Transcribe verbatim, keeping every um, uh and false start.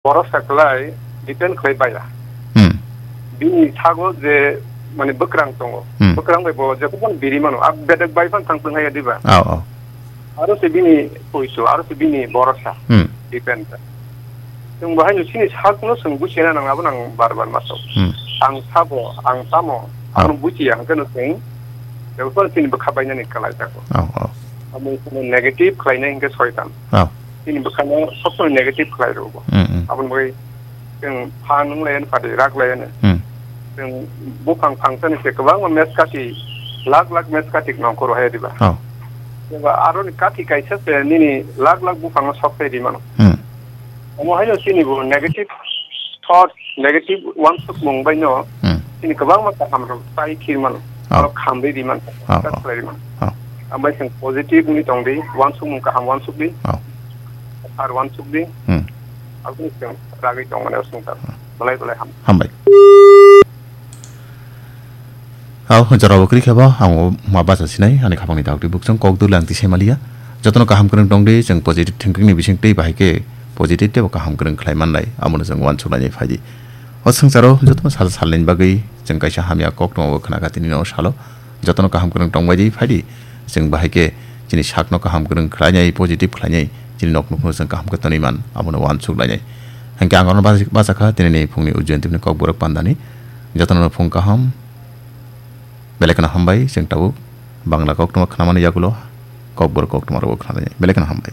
Borok saklai depend khlai baya. Hmm. Bini sago je mane bwkrang tongo. Hmm. Bwkrang bai bo jekhuno biri mano. A bedek bai phan thang thang haya diba. Oh, oh. Aro se bini poiso, aro se bini borosa. Hmm. Depend. Chwng bahai no sini sakno chwng buchina nang abo nang bar bar masok. Hmm. Ang sabo, ang tamo, oh, ang buchiya hwnkhe no chwng. Jekhuno sini bwkha bainani kalai jago. Oh, oh. Amo negative khlainai hwnkhe soitan. Oh. Chini bwkhano sob somoi negative khlai rw bo. Hmm, hmm. Aboni bagwi chwng phan wng lai ani padi rak lai ani. Hmm. Chwng buphang phangsani se kwbangma meskati, lakh lakh meskati nongkhor hai diba. Oh. Eba aroni kati kaisa se nini lakh lakh buphangno sok sai di mano. Hmm. Omo haino chini bo negative thought, negative wansukmung bai no Hmm. chini kwbangma kaham rok tai khir mano. Oh. Aro khamri di man, oh, oh, khlai di man. Oh. Ambai chwng positive ni tong di, wansukmung kaham wansuk di. Oh. Ar wansuk di. Hmm. Aboni chwng ragwi tong mani sung tar. Oh. Belai belai ham. Hambai. Aw, jorabo kwrwi khe bo, ang o ma bacha sinai, ani khapangni dagdi bukchung kok duli ang tisai maliya. Jotono kaham kwrwng tong di, chwng positive thinking ni bising twi bahai khe positive tei bo kaham kwrwng khlai man lai, amono chwng uansuk lainai phai di. O swngcharo jotono sal salni bagwi chwng kaisa hamya kok tongma bo khna kha tini no salo. Jotono kaham kwrwng tong bai di phai di. Chwng bahai khe chini sakno kaham kwrwng khlainai, positive khlainai, chini nok nukno chwng kaham khe tonwi man, abono uansuk lainai. Hwnkhe ang oro bachakha tinini phungni Ujjayantipni kokborok pandani. Jotono phung kaham, belai kheno hambai, chwng tabuk Bangla koktwma khnamani yagulo kokborok koktwma rogo khna lainai. Belai kheno hambai.